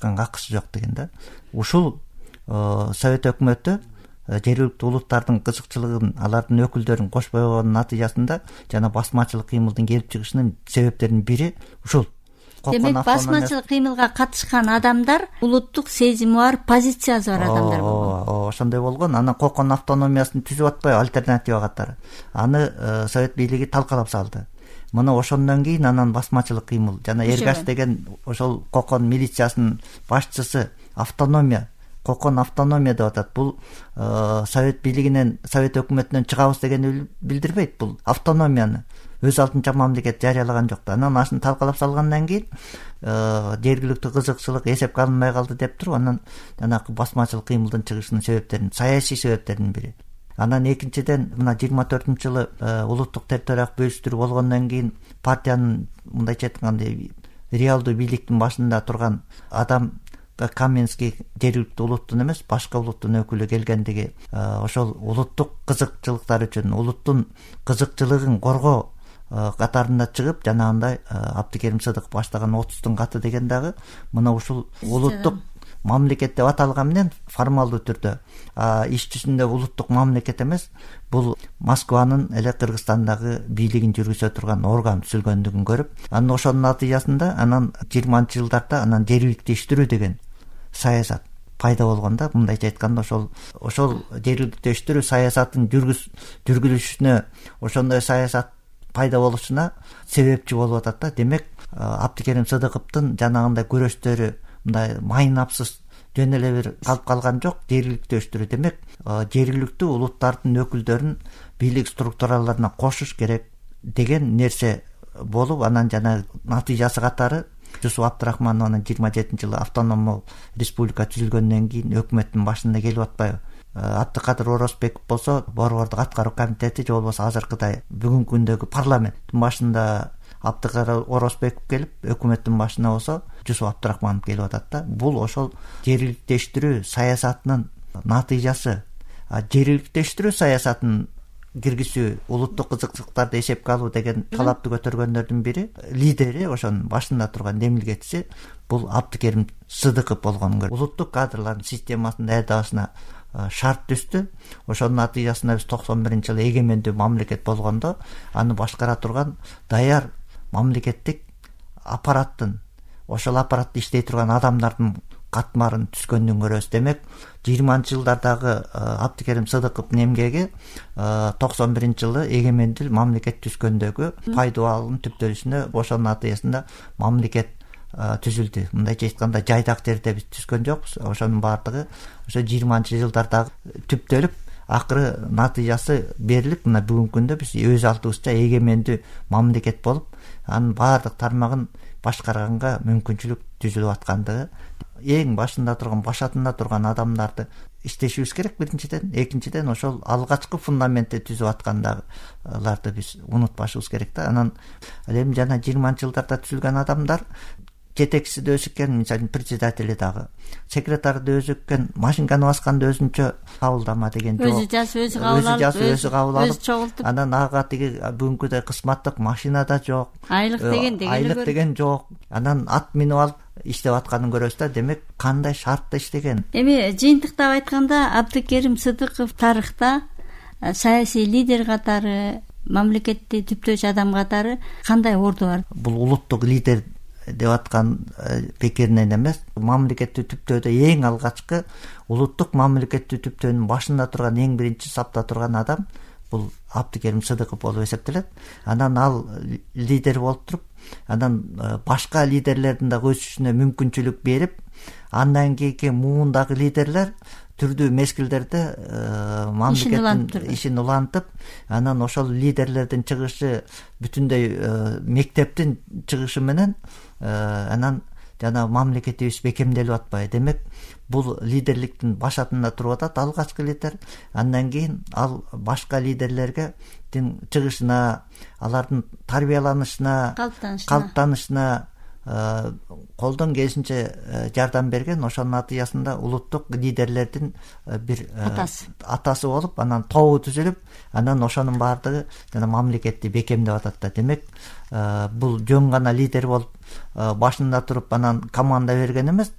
акысы жок деген да. Ушул Совет өкмөтү жергиликтүү улуттардын кызыкчылыгын, алардын өкүлдөрүн кошпой койгондун натыйжасында жана басмачылык кыймылдын келип чыгышынын себептеринин бири ушул. Демек басмачылык кыймылга катышкан адамдар улуттук сезими бар, позициясы бар адамдар болгон. Ошондой болгон. Анан Кокон автономиясын түзүп атпайбы, альтернатива катары. Аны Совет бийлиги талкалап салды. Мына ошондон кийин анан басмачылык кыймыл жана Эргаш деген ошол Кокон милициясынын башчысы автономия, Кокон автономия деп атат. Бул Совет бийлигинен, Совет өкмөтүнөн чыгабыз дегенди билдирбейт. Бул автономияны өз алдынча мамлекет жарыялаган жок да. Анан ашын талкалап салгандан кийин жергиликтүү кызыкчылык эсепке алынбай калды деп туруп, анан жанагы басмачылык кыймылдын чыгышынын себептерин, саясий себептеринин бири. Анан экинчиден мына 24-жылы улуттук территориялык бөлүштүрүү болгондон кийин партиянын мындайча айтканда реалдуу бийликтин башында турган адам Каменский жергиликтүү улуттун эмес, башка улуттун өкүлү келгендиги ошол улуттук кызыкчылыктар үчүн, улуттун кызыкчылыгын коргоо катарында чыгып, жанагындай Абдыкерим Сыдыков баштаган 30-тун каты деген дагы мына ушул улуттук мамлекет деп аталган менен формалдуу түрдө, иш жүзүндө улуттук мамлекет эмес, бул Москванын эле Кыргызстандагы бийлигин жүргүзө турган орган түзүлгөндүгүн көрүп, анан ошонун натыйжасында анан 20-жылдарда анан жергиликтештирүү деген саясат пайда болгон да. Мындайча айтканда ошол жергиликтештирүү саясатын жүргүзүшүнө, ошондой саясат пайда болушуна себепчи болуп атат да. Демек Абдыкерим Сыдыковдун жанагындай күрөштөрү мындай майнапсыз жөн эле бир калып калган жок. Жергиликтештирүү демек жергиликтүү улуттардын өкүлдөрүн бийлик структураларына кошуш керек деген нерсе болуп, анан жана натыйжасы катары Жусуп Абдрахманов анан 27-жылы автономдуу республика түзүлгөндөн кийин өкмөттүн башында келип атпайбы. Абдыкадыр Орозбеков болсо борбордук аткаруу комитети же болбосо азыркыдай бүгүнкү күндөгү парламенттин башында Абдыкадыр Орозбеков келип, өкмөттүн башына болсо Жусуп Абдрахманов келип атат да. Бул ошол жергиликтештирүү саясатынын натыйжасы. Жергиликтештирүү саясатын киргизүү, улуттук кызыкчылыктарды эсепке алуу деген талапты көтөргөндөрдүн бири, лидери, ошонун башында турган демилгечиси бул Абдыкерим Сыдыков болгонун көрүп, улуттук кадрлардын системасын даярдабасына шарт түздү. Ошонун натыйжасында биз 91-жылы эгемендүү мамлекет болгондо аны башкара турган даяр мамлекеттик аппараттын, ошол аппаратты иштей турган адамдардын катмарын түзгөндүн көрөбүз. Демек 20-жылдардагы Абдыкерим Сыдыковдун эмгеги 91-жылы эгемендүү мамлекет түзгөндөгү пайдалануунун түптөлүшүнө ошонун натыйжасында мамлекет түзүлдү. Мындайча айтканда жайдак жерде биз түзгөн жокпуз. Ошонун баардыгы ошо 20-жылдардагы түптөлүп, акыры натыйжасы берилип, мына бүгүнкү күндө биз өз алдыбызча эгемендүү мамлекет болуп, анын баардык тармагын башкарганга мүмкүнчүлүк түзүлүп аткандыгы, эң башында турган, башатында турган адамдарды иштешибиз керек биринчиден. Экинчиден ошол алгачкы фундаментти түзүп аткандагыларды биз унутпашыбыз керек да. Анан эми жана 20-жылдарда түзүлгөн адамдар жетекчиси да өзү экен, мисалы председатели дагы, секретары да өзү экен, машинканы басканда өзүнчө кабылдама деген жок. Өзү жазып, өзү кабыл алып, чогултуп. Анан ага тиги бүгүнкүдөй кызматтык машина да жок. Айлык деген жок. Анан ат минип алып иштеп атканын көрөбүз да. Демек кандай шартта иштеген. Эми жыйынтыктап айтканда Абдыкерим Сыдыков тарыхта саясий лидер катары, мамлекетти түптөөчү адам катары кандай орду бар? Бул улуттук лидер деп аткан пикиринен эмес, мамлекетти түптөөдө эң алгачкы улуттук мамлекетти түптөөнүн башында турган, эң биринчи сапта турган адам бул Абдыкерим Сыдыков болуп эсептелет. Анан ал лидер болуп туруп, анан башка лидерлердин да өсүшүнө мүмкүнчүлүк берип, андан кийинки муундагы лидерлер түрдүү мезгилдерде мамлекеттин ишин улантып, анан ошол лидерлердин чыгышы бүтүндөй мектептин чыгышы менен анан жана мамлекетибиз бекемделип атпайбы. Демек бул лидерликтин башатында туруп атат алгачкы лидер. Андан кийин ал башка лидерлерге чыгышына, алардын тарбияланышына, калыптанышына колдон келишинче жардам берген, ошонун натыйжасында улуттук лидерлердин бир атасы болуп, анан тобу түзүлүп, анан ошонун баардыгы жана мамлекетти бекемдеп атат да. Демек бул жөн гана лидер болуп башында туруп анан команда берген эмес,